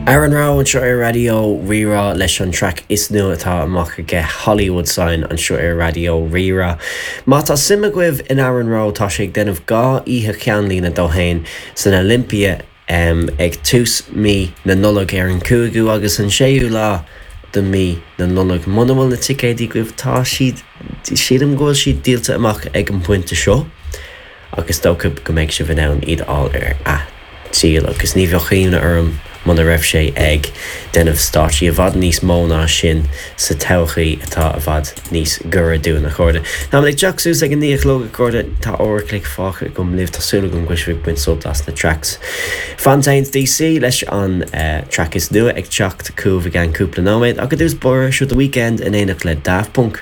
Aaron Rowe anseo ar Raidió Rí-Rá leis an traic is nua atá amach aige Hollywood Sign anseo ar Raidió Rí-Rá. Má tá suim agaibh in Aaron Rowe tá sé ag déanamh 2 oíche cheannlíne dó fhéin san Olympia ag tús mí na Nollag ar an 5ú agus an 6ú lá de mí na Nollag. Muna bhfuil na ticéidí agaibh tá siad, sílim go bhfuil siad díolta amach ag an bpointe seo. ach is dócha go mbeidh sibh in ann iad a fháil ar athdhíol agus ní bheadh ionadh orm muna raibh sé ag déanamh stáitsí i bhfad níos mó ná sin sa todhchaí atá i bhfad níos gaire dúinn, a chairde. Táimid ag teacht suas ag a 9 a chlog, a chairde. Tá uair a chloig fágtha agam libh. Tá súil agam go bhfuil sibh ag baint sult as na tracks. Fontaines DC leis an track is nua ag teacht chugaibh i gceann cúpla nóiméad ach i dtús báire, seo The Weeknd in éineacht le Daft Punk.